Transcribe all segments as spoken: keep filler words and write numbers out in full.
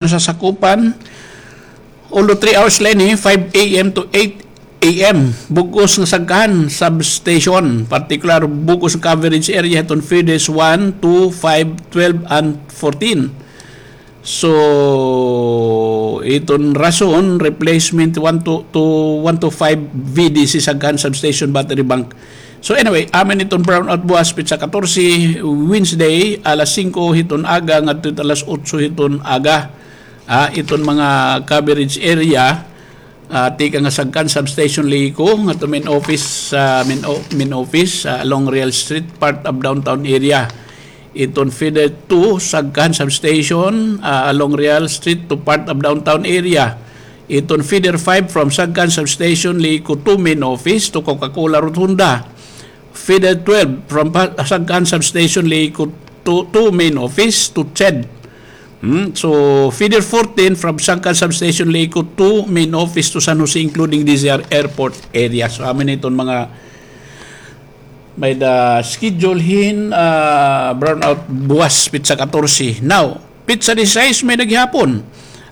nasasakupan, although three hours la ini, five a m to eight a m. Bug-os nga Sagkan substation, particular bug-os nga coverage area hiton feeders one, two, five, twelve, and fourteen. So, iton rason, replacement one to, to one to five V D C Sagkan Substation Battery Bank. So anyway, amo ini iton brownout buwas, petsa katorse, Wednesday, alas singko hiton aga ngadto hit alas otso hiton aga. Ah, iton mga coverage area, ah, tikang ha Sagkan Substation Lico, ngadto main office, ah, main o-, main office, ah, along Real Street, part of downtown area. Iton feeder two, Sagkan Substation, ah, along Real Street to part of downtown area. Iton feeder five from Sagkan Substation Lico to main office to Coca-Cola Rotunda. Feeder twelve from pa-, Sagkan Substation Lico to, to main office to CHED. Hmm? So, feeder fourteen from Sagkan Substation Lico to main office to San Jose, including D Z R airport area. So, amo ini iton mga may-ada schedule hin, ah, brownout buwas, petsa katorse. Now, petsa disisais may-ada gihapon.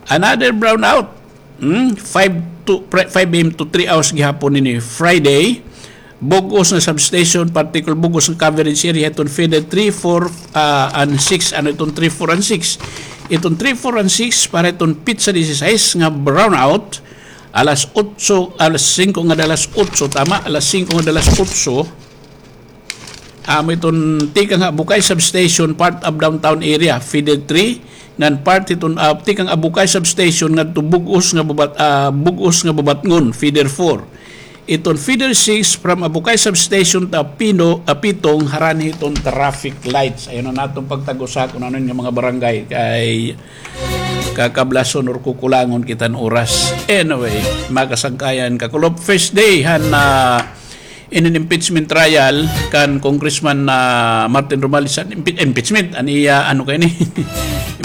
Another brownout. Hmm? Five to, pre-, five a m to three hours gihapon ini Friday. Bug-os nga substation, particular bug-os nga coverage area, iton feeder three, four, ah, and six. Ano iton three, four, and six? Iton three, four, and six, para iton petsa disisais nga brownout, alas otso, alas singko nga alas otso, tama, alas singko nga alas otso. Amo iton tikang ha Bukay Substation, part of downtown area, feeder three, ngan part iton, ah, tikang ha Bukay Substation ngadto bug-os nga Babat-, ah, bug-os nga Babatngon, feeder four. Iton feeder six from Abukay Substation to Pino, Apitong, harani hiton traffic lights. Ayaw na naton pagtag-usa kun ano nga mga barangay kay kakablason or kukulangon kita hin oras. Anyway, mga kasangkayan, kakulop, first day han, ah, inin impeachment trial kan Congressman, ah, Martin Romualdez, an impe-, impeachment, an iya, ano kay ni,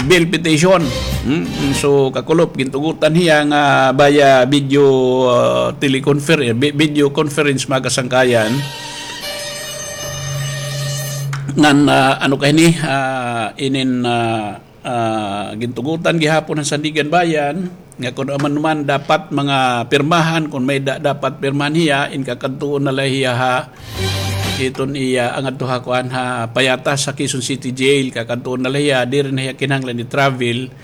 bail petition. Hmm? So, kakulop, gintugutan hiya nga via video, ah, teleconfer-, eh, vi-, video conference, mga kasangkayan. Ngan, ah, ano kay ni, ah, inin, ah, ah, gintugutan gihapon han Sandiganbayan nga kun ano man dapat mga pirmahan, kun may da-, dapat pirmahan hiya, in kakadtuon na la hiya ha iton iya, an adto ha kuan, ha Payatas, ha Quezon City Jail, kakadtuon na la hiya, diri na hiya kinahanglan i-travel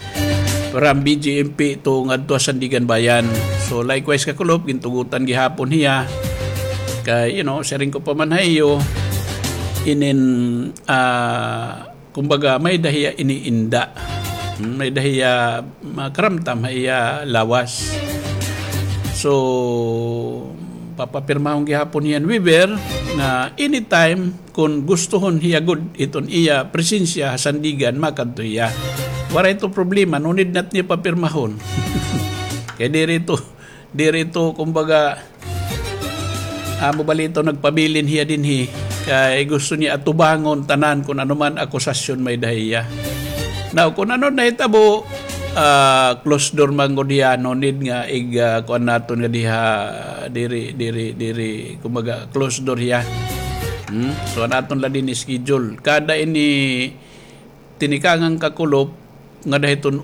from B J M P to ngadto ha Sandiganbayan. So, likewise, kakulop, gintugutan gihapon hiya. Kay, you know, siring ko pa man ha iyo, inin, ah, kumbaga, may-ada hiya iniinda. Hmm, may-ada hiya makaramtam ha iya lawas. So, papapirmahon gihapon hiya hin waiver nga anytime kun gustuhon hiya gud iton iya presensya ha Sandigan, makadto hiya. Waray ito problema, no need na it niya papirmahon. Kay diri ito, diri ito, kumbaga, amo bala ito nagpabilin hiya dinhi. Kay gusto niya atubangon tanan kun ano man akusasyon may-ada ha iya. Now, kun ano nahitabo, ah, closed door man gud hiya, no need nga ig, ah, kuan naton nga diha, diri, diri, diri, kumbaga, closed door hiya. Hmm? So, an aton la dinhi schedule. Kada ini tinikangan, kakulop, ngada hiton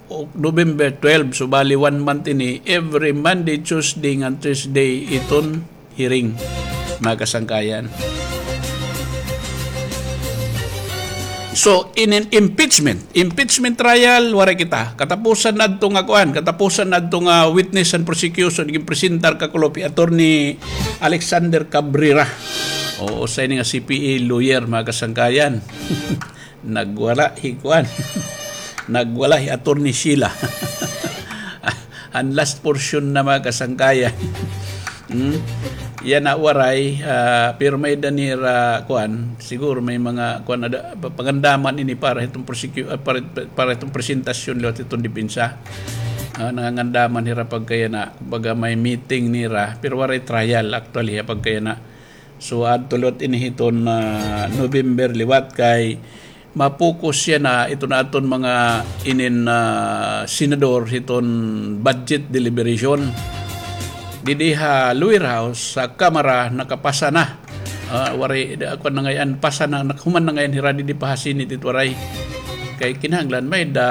O-, November twelve, so bali one month ini, every Monday, Tuesday, ngan Thursday, iton hearing, mga kasangkayan. So, inin impeachment, impeachment trial, waray kita. Katapusan na adto nga kuan, katapusan na adto nga witness and prosecution, ginpresentar, kakulop, hi Attorney Alexander Cabrera. Oo, usa ini nga C P A lawyer, mga kasangkayan. Nagwala hi kuan. Nagwala hi Attorney Sheila. An last portion na, mga kasangkayan. Hmm? Yana waray, ah, pero may-ada nira kuan, siguro may mga kuan, ada, pa-, pangandaman ini para hitong prosecu-, ah, para, para hitong presentasyon liwat hitong depensa. Ah, nangangandaman hira pagkayana, kumbaga may meeting nira, pero waray trial actually, ha, pagkayana. So, adto liwat ini hiton, ah, November liwat kay ma-focus yana iton aton mga inin, ah, senador hiton budget deliberation. Didi ha lower house, sa Kamara, nakapasa na. Ah, waray, da-, kuan na ngay-an, pasa na, nakahuman na ngay-an hira didi pa ha Senate it waray. Kay kinahanglan may-ada